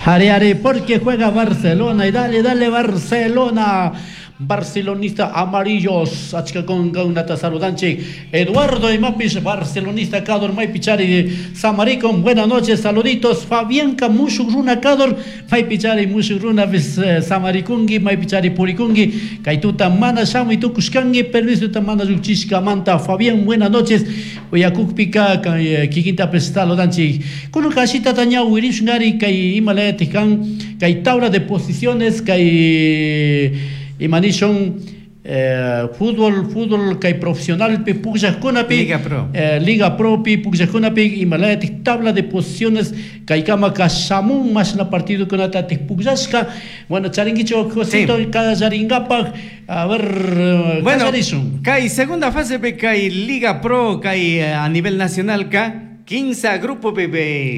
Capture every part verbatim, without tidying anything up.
Ari, ari, porque juega Barcelona y dale, dale Barcelona. Barcelonista amarillos, achka kunata saludanchik. Eduardo imapish, barcelonista kador, maypichari samarikun, buenas noches, saluditos. Fabianca mushuk runa kador, maypichari mushuk runa eh, samarikungi, maypichari purikungi. Kaytuta mana shamuy tukushkangi, permiso mana lluchishkamanta. Fabián, buenas noches. Uyakukpika kikintapish saludanchik. Kunan kashitata ñawirishungari kay imalayatik kan, kay tabla de posiciones, kay imanishun eh, fútbol fútbol kay profesional pi pukllaqkunapi Liga Pro. eh, Liga Pro pi pukllaqkunapi imalayatik tabla de posiciones kaykama kashamun mashna partido kunata tik pukllashka. Bueno, charinkichu, Josito? Sí. Kallaringapaq, a ver, eh, Bueno, kallarishun. Kay segunda fase pe kay Liga Pro kay eh, a nivel nacional ka quince grupo pe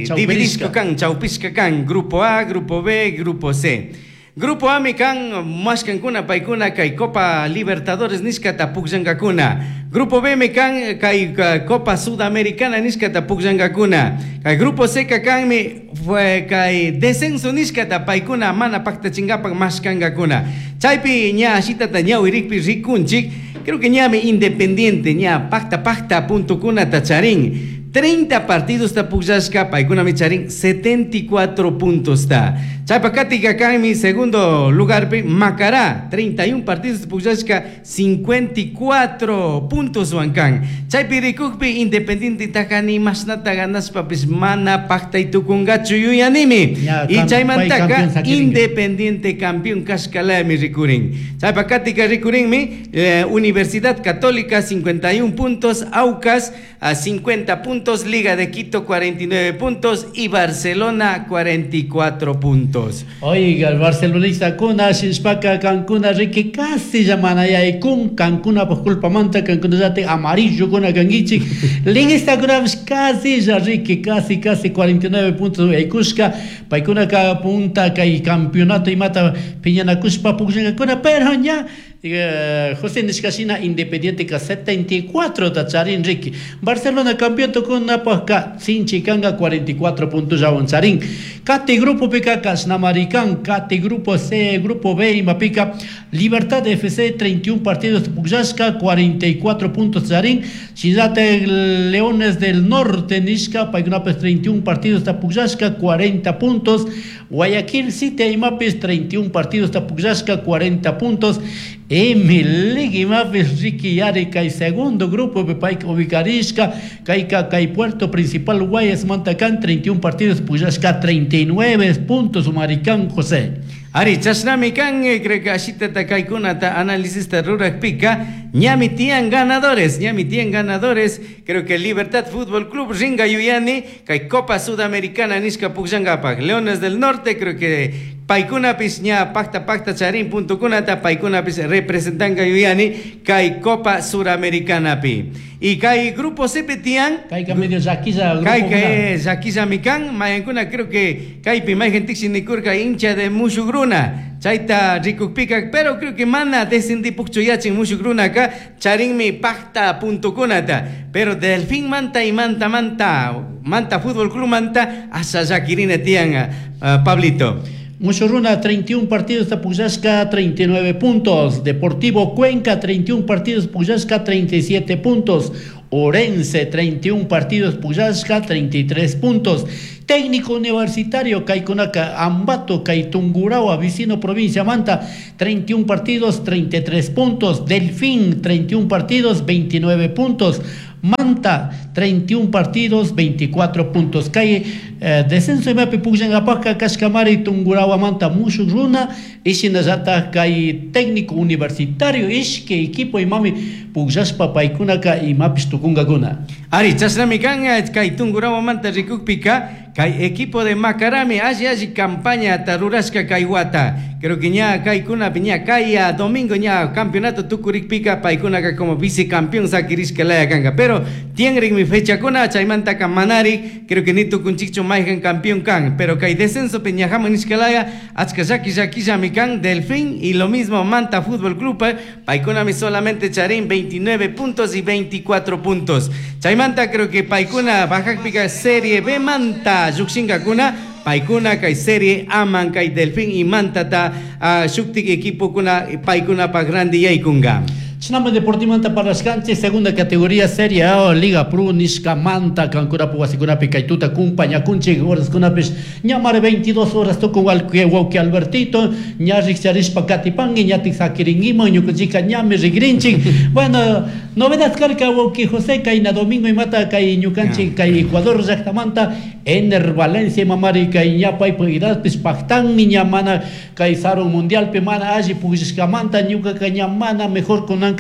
Chawpishka. dividishka kan, chawpishka kan, grupo A, grupo B, grupo C. Grupo A mi kan mashkankuna paykuna kay Copa Libertadores nishkata pukllankakuna. Grupo B mi kan kay ka, Copa Sudamericana nishkata pukllankakuna. Kay Grupo C ka kan mi fue kay descenso nishkata paykuna mana paktachinkapak mashkankakuna. Chaypi ña ashitata ñawirikpi rikunchik, creo que ñami Independiente ña pakta pakta puntokunata charin. treinta partidos ta pukllashka, paykuna mi charin setenta y cuatro puntos ta. Chaypa katika mi segundo lugar pi Macará, treinta y uno partidos pukllashka, cincuenta y cuatro puntos wankan. Chaypi rikukpi Independiente takani mashnata ganashpapis mana paktay tukungachu yuyanimi. Ya, Y cam- chaymantaka pay campeón sakiringa. Independiente campeón kashkalami rikurin. Chaypa katika rikurinmi eh, Universidad Católica cincuenta y uno puntos, Aucas a cincuenta puntos, Liga de Quito cuarenta y nueve puntos y Barcelona cuarenta y cuatro puntos. Oiga, el barcelonista kuna shishpaka kankuna riki casi llamanayay kun kankuna por culpa manta kankuna yate amarillo kuna kangichik liguista kuna casi ya riki casi casi cuarenta y nueve puntos aykushka paykuna ka punta kay campeonato imata piñanakushpa pukllankakuna, pero ña eh, José nishkashina Independiente ka setenta y cuatro ta charin riki. Barcelona campeón tukunapajka sinchi kanga, cuarenta y cuatro puntos llawan charin. Kati grupo pika kashnamarikan, kati grupo C, grupo B imapika Libertad F C treinta y uno partidos pukllashka, cuarenta y cuatro puntos charin. Shinallata Leones del Norte nishka paykunapis treinta y uno partidos ta pukllashka, cuarenta puntos. Guayaquil City imapis treinta y uno partidos ta pukllashka, cuarenta puntos. Emelec imapis riki yari kay segundo grupo pay ubicarishka kayka kay puerto principal Guayas mantakan, treinta y uno partidos pukllashka, treinta y nueve puntos umarikan, José. Ari, chashnami kan, eh, creo que ashitata kaykunata análisista rurakpika, ñami tiyan ganadores, ñami tiyan ganadores, creo que Libertad Fútbol Club ringa yuyani, kay Copa Sudamericana nishka pukllankapak. Leones del Norte, creo que paykunapis ña pakta pakta charin puntokunata, paykunapis representanka yuyani, kay Copa Suramericanapi. Y kay Grupo C tiyan, kayka medio llakilla grupo Kay kuna. kay llakillami kan, mayankuna creo que kaypi mayqin nikurka hincha de mushukruna chayta rikukpika, pero creo que mana descendipukchu yachin mushukrunaka charinmi pakta puntokunata, pero Delfín manta y manta manta Manta Fútbol Club manta asha llakirina tiyan, uh, Pablito. Mushuruna treinta y uno partidos pukllashka, treinta y nueve puntos. Deportivo Cuenca treinta y uno partidos pukllashka, treinta y siete puntos. Orense treinta y uno partidos pukllashka, treinta y tres puntos. Técnico Universitario kaykunaka Ambato kay Tungurahua vecino provincia Manta treinta y uno partidos, treinta y tres puntos. Delfín treinta y uno partidos, veintinueve puntos. Manta treinta y uno partidos, veinticuatro puntos. Kay eh, descenso imapi pukllankapajka kashkamari Tungurahua manta mushuk runa y shinallata kay Técnico Universitario, ishki equipo imami pukllashpa paykunaka imapish tukunkakuna. Ari, chashnami kan kay Tungurahua manta rikukpika kay equipo de Macarami alli alli campaña rurashka kay wata. Creo que ña kaykunapi ña kay domingo ña campeonato tukurikpika paykunaka como vicecampeón sakirishka laya kanka. Pero tienrikmi fechakuna chaymantaka manari creo que ni tukunchikchu mayqan campeón kan. Pero kay descenso pi ñajaman nishka laya achka llaki llakillami kan Delfín y lo mismo Manta Fútbol Club, paykunami solamente charin veintinueve puntos y veinticuatro puntos. Chaymanta creo que paykuna bajakpika Serie B manta llukshinkakuna. Paykuna kay Serie A man kay Delfín y Mantata uh, shuktik equipokuna paykunapak randi yaykunga. Chinama Deportimanta parlashkanchik segunda categoría Serie A Liga Pro nishkamanta kankunapu wasikunapi kay tuta kumpañakunchik horaskunapish ñamari veintidós horas tukun wawki Albertito ña rikcharishpa katipanki ñatik sakirinkiman ñukanchika ñami rikrinchik. Bueno, novedad karka wawki José kayna domingo imata kay ñukanchik kay Ecuador llaktamanta Ener Valencia imamari kay ña paypa edadpish paktanmi ña mana kay sarun mundialpi mana alli pukllashkamanta ñukaka ña mana mejor kunan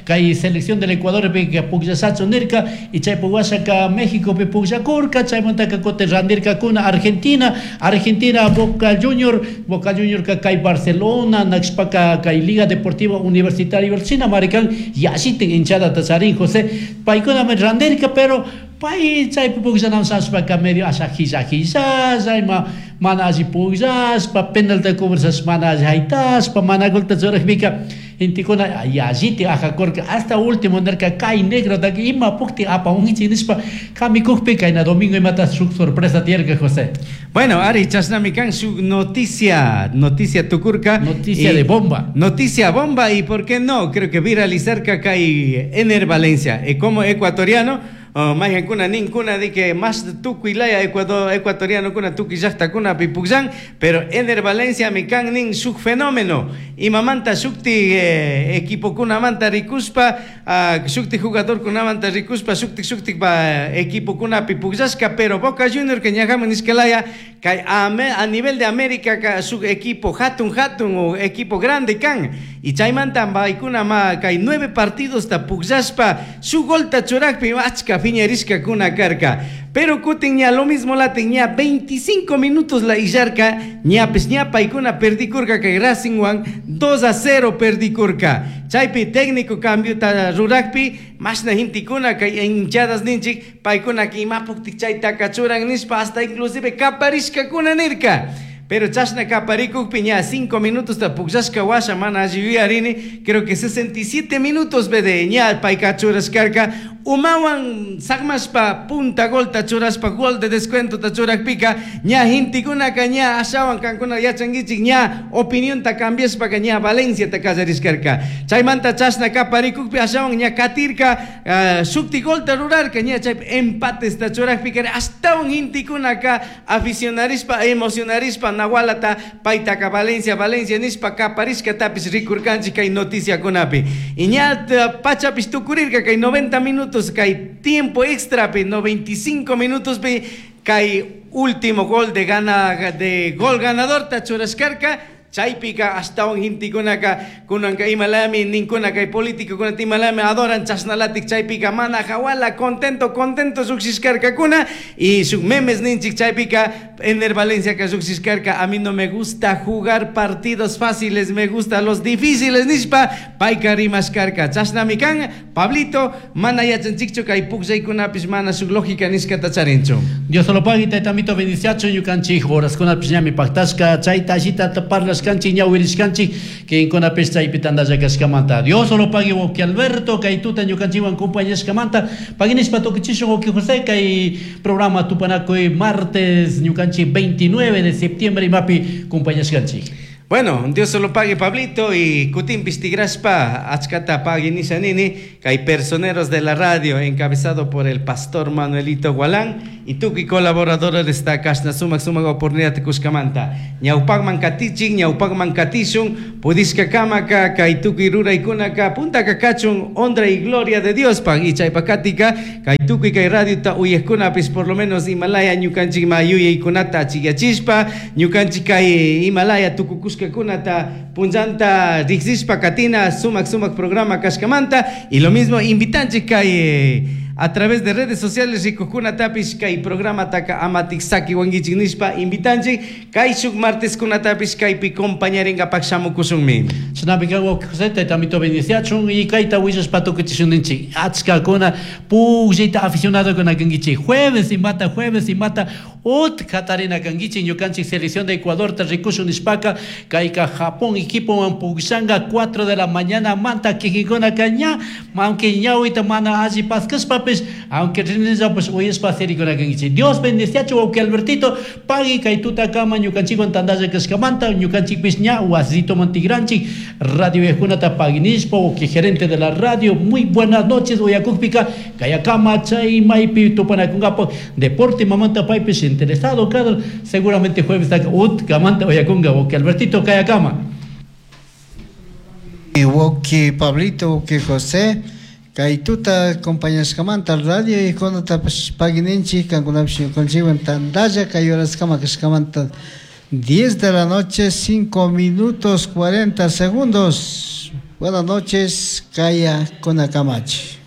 kay selección del Ecuador pi pukllasachu nirka y chaypi washaka México pi pukllakurka chaymantaka kutin randirkakuna Argentina Argentina Boca Junior Boca Junior ka kay Barcelona nakshpaka kay Liga Deportiva Universitaria China marikan yallitin hinchadata charin José paykunami randirka pero pay chaypi pukllanam shashpaka medio asha hilla hillalla ima mana alli pukllashpa penalta cobrashpa mana alli haytashpa mana golta churajpika gentekuna yalliti ajakurka hasta último nirka kay negrotaka ima pukti apamunkichik nishpa kamikukpi kayna domingo imata shuk sorpresa tiyarka José. Bueno, ari chashnami kan shuk noticia, noticia tukurka. Noticia y, de bomba. Noticia bomba y por qué no, creo que viralizarka kay Ener Valencia, y como ecuatoriano Oh, mayhankuna ninkuna de que más tukuy laya Ecuador, ecuatoriano kuna tukuy llaqtakuna pipukllan, pero Ener Valencia mi kan nin shuk fenómeno imamanta shukti eh, equipo kunamanta rikuspa uh, shukti jugador kunamanta rikuspa shukti shukti pa equipo kuna pipukllashka, pero Boca Junior que ñajaman nishkalaya kay a, a nivel de América ka shuk equipo hatun hatun o equipo grande kan y chaymanta paykuna ma kay nueve partidos ta pukllashpa shuk golta churakpi achka fiñarishka kuna karka, pero kutin ña lo mismo la tenía veinticinco minutos la illarka ñapis ña paykuna perdikurka kay Racing wan dos a cero perdikurka chaypi técnico cambio ta rurakpi mashna hintikuna kay hinchadas ninchik paykuna kimapuktik chayta kachuran nishpa hasta inclusive kaparishka kuna nirka. Pero chashna kaparikukpi ña cinco minutos ta pukllashka washa mana alli yuyarini creo que sesenta y siete minutos bede ña payka churashkarka umawan sakmashpa punta gol ta churashpa gol de descuento ta churakpika ña hintikunaka ña ashawan kankuna yachankichik ña opinión ta cambiashpaka ña Valencia ta kallarishkarka chaymanta chashna kaparikukpi ashawan ña katirka uh, shukti gol ta rurarka ña chaypi empates ta churakpika ashtawan hintikunaka aficionarishpa emocionarishpa nawalata paytaka Valencia Valencia nishpa kaparishka tapis rikurkanchik kay noticiakunapi y ña pachapis tukurirka kay noventa minutos kay tiempo extra pi noventa y cinco minutos pi kay último gol de gana de gol ganador ta churashkarka chaypika ashtawan hintikunaka kunanka imalami ninkuna kay político kuna imalami adoran chashnalatik chaypika mana hawala contento contento lluqshishkarkakuna y shuk memes ninchik chaypika Ener Valencia ka lluqshishkarka a mí no me gusta jugar partidos fáciles, me gusta los difíciles nishpa payka rimashkarka chashnami kan Pablito mana yachanchikchu kay pukllaykunapish mana shuk lógica nishkata charinchu. Dios lo pague taytamito bendiciachu ñukanchik horaskunapish ñami paktashka chayta allita parlash kanchik ñawirishkanchik kinkunapish chaypi tantalla kashkamanta. Dios lo pague wawqi Alberto kay tuta ñukanchikwan compañashkamanta paginishpa tukuchishun wawqi José kay programa tupanakuy martes ñukanchik veintinueve de septiembre imapi compañashkanchik. Bueno, Dios se lo pague Pablito y kutinpis tigrashpa achkata pague nishanini kay personeros de la radio encabezado por el pastor Manuelito Gualán y tukuy colaboradores esta kashna sumak sumak oportunidad kushkamanta ñawpakman katichik ñawpakman katishun pudishka kamaka kay tukuy ruraykunaka puntaka kachun honra y gloria de Dios pa y chaypakatika kay tukuy kay radiota uyajkunapis por lo menos Himalaya ñukanchik ma yuyaykunata achiyachishpa ñukanchik kay Himalaya tukukushka kunata punllanta riqsishpa katina sumak sumak programa kashkamanta y lo mismo invitanchik kay a través de redes sociales rikuqkunatapish kay programa taka amatik saki wankichik nishpa invitanchik kay shuk martes kunatapish kaypi compañarinkapak shamukushunmi. Shinapika wawqi José taytamito bendiciachun y kayta willashpa tukuchishunninchik achkakuna pukllayta aficionadokuna kankichik jueves imata jueves imata Ut katarina kankichik ñukanchik selección de Ecuadorta rikushun nishpaka kayka Japón equipowan pukllanga cuatro de la mañana manta kikinkunaka ña aunque ñawita mana alli paskashpapish aunque rinllapash uyashpa sirikuna kankichik. Dios bendeciachu wawqi Albertito, pagui kay tutakama ñukanchikwan tantalla kashkamanta ñukanchikpish ña wasitoman tigranchik radio viajakunata paginishpa wawqi gerente de la radio muy buenas noches uyakukpika kayakama chay maypi tupanakunkapaq deporte mamanta paypish interesado kadar seguramente jueves utkamanta uyakunka wawqi Albertito kayakama. Wawqi Pablito, wawqi José, kay tuta acompañashkamanta radio ikonatapash pagininchik kankunapish ñukanchikwan tantalla kay horaskama kashkamanta diez de la noche, cinco minutos cuarenta segundos. Buenas noches, kaya kunakamachi.